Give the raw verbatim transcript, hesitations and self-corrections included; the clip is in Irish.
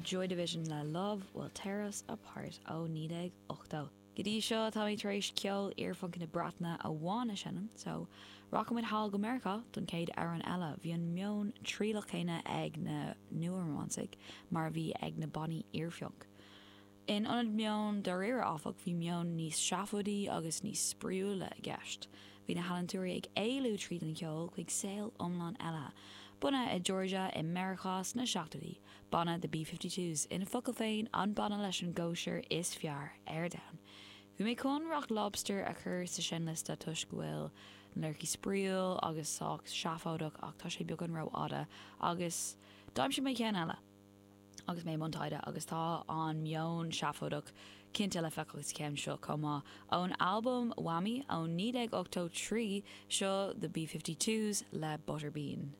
Joy Division le Love Will Tear Us Apart ó naoi déag ochtó. Go dtí seo tá mé tar éis ceol iarphunc na Breataine amháin a sheinm, so rachaimid thall go Meiriceá don chéad amhrán eile. Bhí an meon trialach céanna ag na nua-rómánsaigh mar a bhí ag na bannaí iarphunc. In ionad meon dáiríre áfach, bhí meon níos seafóidí agus níos spraíúla i gceist. Bhí na healaíontóirí ag éalú tríd an cheol chuig saol iomlán eile. Bunaithe i Georgia i Meiriceá sna seachtóidí, banna The B fifty twos, ina focail féin, an banna leis an gcóisir is fearr ar domhan. Bhí mé chun Rock Lobster a chur sa seinnliosta toisc go bhfuil na liricí spraíúil agus sách seafóideach ach tá sé beagán rófhada agus d'aimsigh mé ceann eile. Agus mé i mbun taighde agus tá an meon seafóideach cinnte le feiceáil sa cheann seo chomh maith. Ón albam Whammy ó naoi déag ochtó trí, seo The B fifty twos le Butterbean.